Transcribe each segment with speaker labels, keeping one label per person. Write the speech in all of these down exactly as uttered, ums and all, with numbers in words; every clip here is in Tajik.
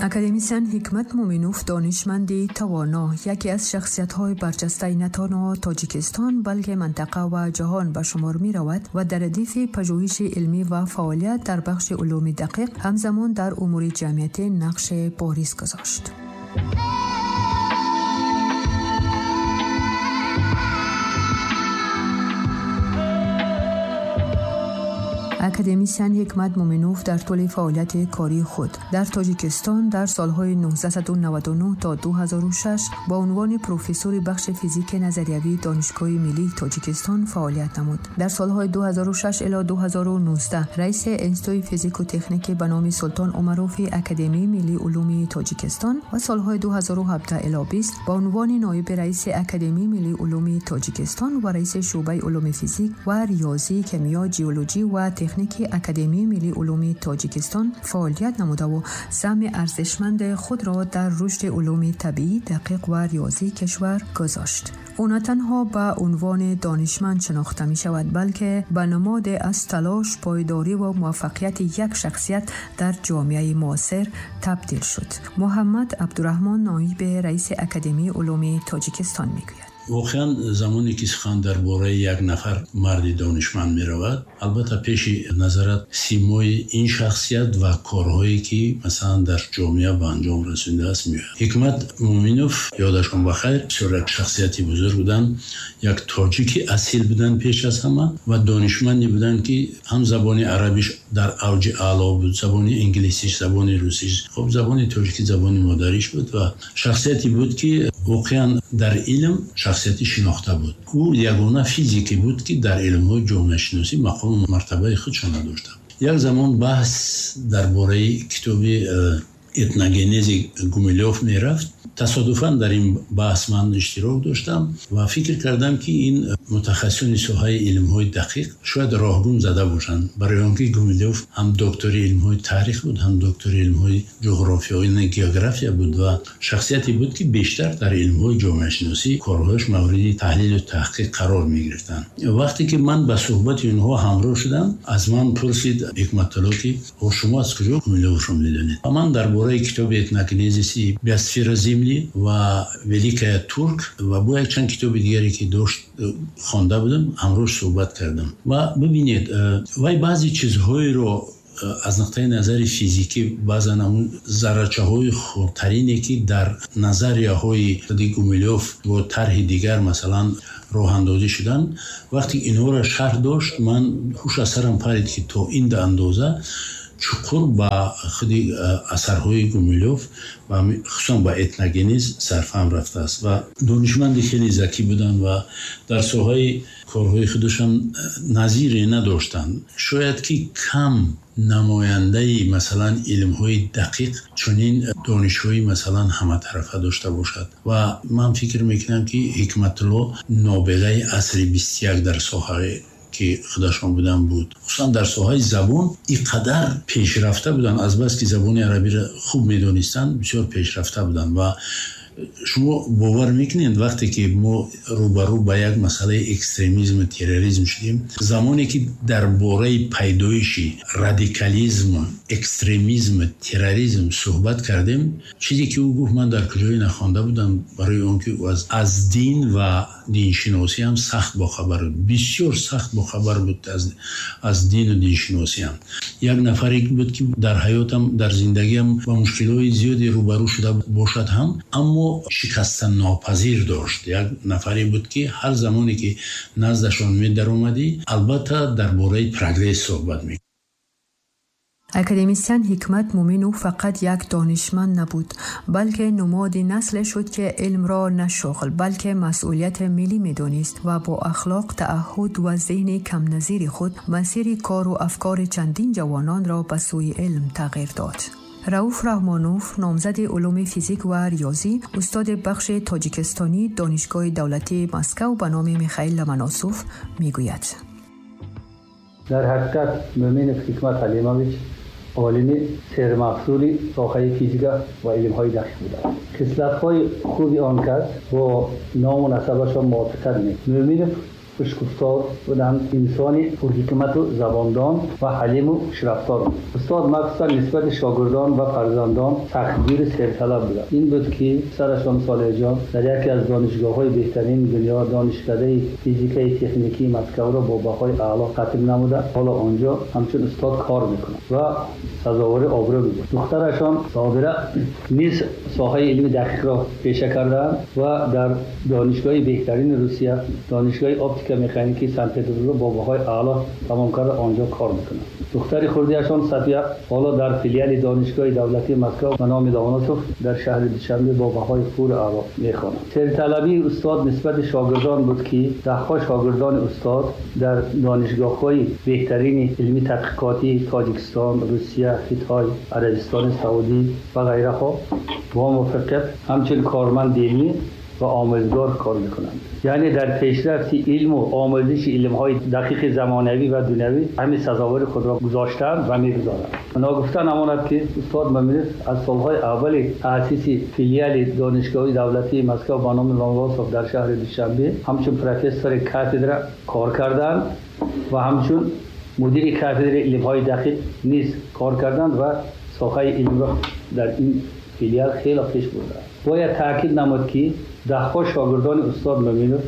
Speaker 1: Академисиан Ҳикмат Муъминов донишманди тавоно, яке аз шахсиятҳои барҷастаи на танҳо Тоҷикистон, балки минтақа ва ҷаҳон ба шумор меравад ва дар радифи пажӯҳиши илмӣ ва фаъолият дар бахши улуми дақиқ ҳамзамон дар умури ҷамъиятӣ нақши бориз гузошт. Академисиан Ҳикмат Муъминов дар тӯли фаъолияти кории худ дар Тоҷикистон дар солҳои нуздаҳсаду наваду нӯҳ то ду ҳазору шаш ба унвони профессори бахши физики назариявии Донишгоҳи миллии Тоҷикистон фаъолият намуд. Дар солҳои ду ҳазору шаш ило ду ҳазору нуздаҳ раиси Институти физику техники ба номи Султон Умарофи Академияи миллии улуми Тоҷикистон ва солҳои ду ҳазору ҳабдаҳ ило бист ба унвони ноиби раиси Академияи миллии улуми Тоҷикистон ва раиси шӯъбаи улуми физик ва риёзӣ, кимиё, геологӣ ва техник ки Академияи миллии улуми Тоҷикистон фаъолият намудаву саҳми арзишманди худро дар рушди улуми табиӣ, дақиқ ва риёзии кишвар гузошт. Ӯ на танҳо ба унвони донишманд шинохта мешавад, балки ба намоде аз талош, пойдорӣ ва муваффақияти як шахсият дар ҷомеаи муосир табдил шуд. Муҳаммад Абдураҳмон, ноиби раиси Академияи улуми Тоҷикистон, мегӯяд:
Speaker 2: Воқеан, замоне ки сухан дар бораи як нафар марди донишманд меравад, албатта, пеши назарат симои ин шахсият ва корҳое ки, масалан, дар ҷомеа ба анҷом расонидааст, меояд. Ҳикмат Муъминов, ёдашон ба хайр, бисёр як шахсияти бузург буданд, як тоҷики асил буданд пеш аз ҳама ва донишманде буданд, ки ҳам забони арабиш дар авҷи аъло буд, забони инглисиш, забони русиш, хуб, забони тоҷикӣ забони модариш буд ва шахсияте буд, ки воқеан дар илм шахсияти шинохта буд. Ӯ ягона физике буд, ки дар илмҳои ҷомеашиносӣ мақому мартабаи худшо надошта. Як замон баҳс дар бораи китоби э, этногенези Гумилёв мерафт. Тасодуфан дар ин баҳс ман иштирок доштам ва фикр кардам, ки ин мутахассисони соҳаи илмҳои дақиқ шояд роҳгум зада бошанд, барои он ки Гумилёв ҳам доктори илмҳои таърих буд, ҳам доктори илмҳои ҷуғрофиё, география буд ва шахсияте буд, ки бештар дар илмҳои ҷомеашиносӣ корҳояш мавриди таҳлилу таҳқиқ қарор мегирифтанд. Вақте ки ман ба суҳбати онҳо ҳамроҳ шудам, аз ман пурсид Ҳикматулло, ки шумо аз куҷо Гумилёвро медонед? Ва ман дар бораи китоби этногенезиси биосфера Земли ва Великая Турк ва бо якчанд китоби дигаре, ки дошт, хонда будам, ҳамроҳ суҳбат кардам. Ва бибинед, вай баъзе чизҳоеро аз нуқтаи назари физикӣ, баъзан ҳамун заррачаҳои хурдтарине, ки дар назарияҳои худи Гумилёв бо тарҳи дигар, масалан, роҳандозӣ шуданд, вақте инҳоро шарҳ дошт, ман ҳуш аз сарам парид, ки то ин андоза чуқур ба худи асарҳои Гумилёв ва хусусан ба этногенез сарфаҳм рафтааст. Ва донишманди хеле закӣ буданд ва дар соҳаи корҳои худашон назире надоштанд. Шояд ки кам намояндаи, масалан, илмҳои дақиқ чунин донишҳои, масалан, ҳаматарафа дошта бошад. Ва ман фикр мекунам, ки Ҳикматулло нобиғаи асри бисту як дар соҳаи ки худашон будан буд. Хусусан дар соҳаи забон ин қадар пешрафта буданд, азбаски забони арабиро хуб медонистанд, бисёр пешрафта буданд. Ва шумо бовар мекунед, вақте ки мо рӯбарӯ ба як масъалаи экстремизму терроризм шудем, замоне ки дар бораи пайдоиши радикализму экстремизму терроризм суҳбат кардем, чизе ки ӯ гуфт, ман дар куҷое нахонда будам, барои он ки ӯ аз дин ва диншиносиам сахт бохабар буд, бисёр сахт бохабар буд аз дину диншиносиам. Як нафаре буд, ки дар ҳаётам, дар зиндагиам ба мушкилҳои зиёде рӯбарӯ шуда бошад ҳам, аммо шикастаннопазир дошт. Як нафаре буд, ки ҳар замоне ки наздашон медаромадӣ, албатта, дар бораи прогресс суҳбат мекард.
Speaker 1: Академисиан Ҳикмат Муъминов фақат як донишманд набуд, балки нумоди насле шуд, ки илмро на шуғл, балки масъулияти миллӣ медонист ва бо ахлоқ, таъаҳҳуд ва зеҳни камназири худ масири кору афкори чандин ҷавононро ба сӯи илм тағйир дод. Рауф Раҳмонов, номзади улуми физик ва риёзӣ, устоди бахши тоҷикистонӣ Донишгоҳи давлатии Москав ба номи Михаил Ломоносов, мегӯяд:
Speaker 3: Дар ҳақиқат, Муъминов Ҳикмат Ҳалимович олими сермаҳсули соҳаи физика ва илмҳои дақиқ буданд. Хислатҳои хуби он кас бо ному насабашон мувофиқат мекард. Муъминов хушгуфтор буданд, инсони пурҳикмату забондон ва ҳалиму хушрафтор. Устод махсусан нисбати шогирдон ва фарзандон сахтгиру серталаб буданд. Ин буд ки писарашон Солеҳҷон дар яке аз донишгоҳҳои беҳтарини дунё, донишкадаи физикаи техникии Москваро бо баҳои аъло хатм намуда, ҳоло онҷо ҳамчун устод кор мекунад ва сазовори обрӯ мебошад. Духтарашон Собира низ соҳаи илми дақиқро пеша кардаанд ва дар донишгоҳи беҳтарини Русия, донишгоҳи оптика механикии Санкт-Петербург бо баҳои аъло тамом карда, онҷо кор мекунад. Духтари хурдиашон Сафия ҳоло дар филиали донишгоҳи давлатии Москва ба номи Ломоносов дар шаҳри Душанбе бо баҳои пур аъло мехонад. Серталабии устод нисбати шогирдон буд ки даҳҳо шогирдони устод дар донишгоҳҳои беҳтарини илми тадқиқотии Тоҷикистон, Русия, Хитой, Арабистони Саудӣ ва ғайраҳо бо муваффақият ҳамчун корманди илмӣ ва омӯзгор кор мекунанд. Яъне дар пешрафти илму омӯзиши илмҳои дақиқи замонавӣ ва дунявӣ ҳамин сазовори худро гузоштаанд ва мегузоранд. Ногуфта намонад ки устод Мӯминов аз солҳои аввали таъсиси филиали донишгоҳи давлатии Москва ба номи Ломоносов дар шаҳри Душанбе ҳамчун профессори кафедра кор карданд ва ҳамчун мудири кафедраи илмҳои дақиқ низ кор карданд ва соҳаи илмро дар ин филиал хеле пеш бурданд. Бояд таъкид намуд ки даҳҳо шогирдони устод Мӯминов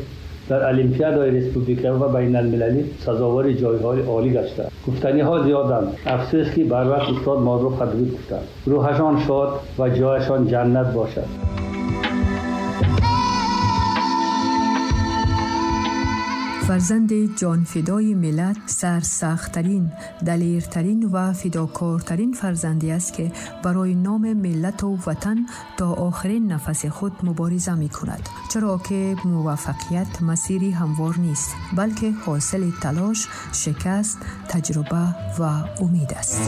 Speaker 3: дар олимпиадаҳои республика ва байналмилалӣ сазовори ҷойҳои олӣ гаштанд. Гуфтаниҳо зиёданд. Афсӯс ки барвақт устод моро падруд гуфтанд. Рӯҳашон шод ва ҷояшон ҷаннат бошад.
Speaker 1: Фарзанди ҷонфидои миллат сарсахттарин, далертарин ва фидокортарин фарзанде аст, ки барои номи миллату ватан то охирин нафаси худ мубориза мекунад. Чаро ки муваффақият масири ҳамвор нест, балки ҳосили талош, шикаст, таҷруба ва умед аст.